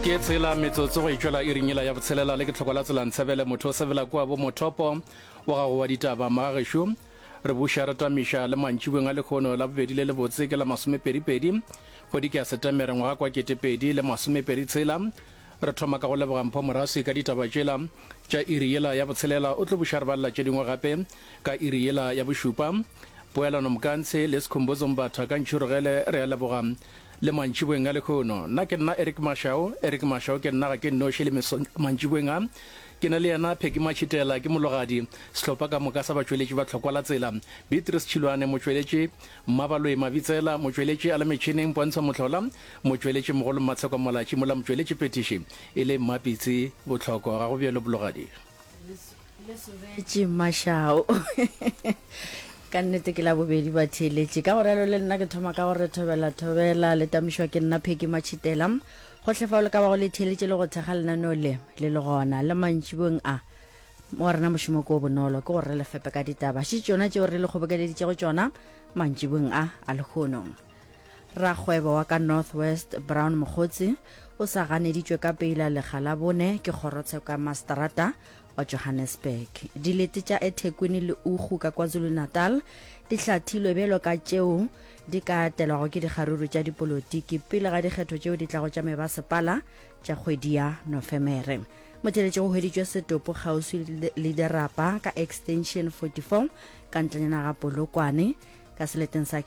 Ke tshela metsotso go itšwela iring yela ya botshelela le ke tlhoko la tsela ntshebele motho o sebela kua bo mothopo wa gago wa ditaba magagešo re buša re tamiša le mantšibeng a lekgono la bobedi le lebotse ke la masomepedipedi kgwedi ke ya setemere ngwaga kwa ketepedi le masomepedi tshela Re thoma ka go leboga Mpho Moraswi ka ditaba tšela tša iri yela ya botshelela. O tlo buša re balela tše dingwe gape ka iri yela ya bošupa. Poelano Mkantshe le Skhumbuzo Mbatha ka Ntšhirogele re a leboga le mantšiboeng a lehono. Nna ke nna Eric Mashau, Eric Mashau ke nna ga ke nnoši le mesong mantšiboeng a. Ke na le yena Peggy Matšhitela ke mologadi, sehlopha ka moka sa batšweletši ba Tlhokwa la Tsela, Beatrice Tšhilwane motšweletši, Mmabaloi Mabitsela, motšweletši a le metšhineng, Pontsho Mohlola, motšweletši mogolo Mmatsheko Molatši, mola motšweletši phethiši e le Mmapitsi Bohloko. Ga go bjalo Bologadi? Le sobetše Mashao. Ka nnete ke la bobedi batheeletši. Ka go realo le nna ke thoma ka gore thobela thobela le tamišwa ke nna Peggy Matšhitela. Gohle fao le ka bago le theeletše le go thekga lenaneo le le le gona le mantšibong a. Wa rena mošomo ke o bonolo, ke gore re le fepe ka ditaba. Še tšona tšeo re le kgobokeleditšego tšona mantšibong a a lehono. Rakgwebo wa ka North West Brown Mogotsi o sa ganeditšwe ka peila lekga la bone ke kgorotsheko ya maseterata wa Johannesburg. Dilete tša eThekwini le Ugu ka KwaZulu-Natal di hlathilwe bjalo ka tšeo di ka atelwago ke dikgaruru tša dipolotiki pele ga dikgetho tšeo di tlago tša mebasepala tša kgwedi ya Nofemere. Motheletši go hweditšwe setopo kgauswi le dirapa ka Extension 44 ka ntlenyana ga Polokwane ka seleteng sa.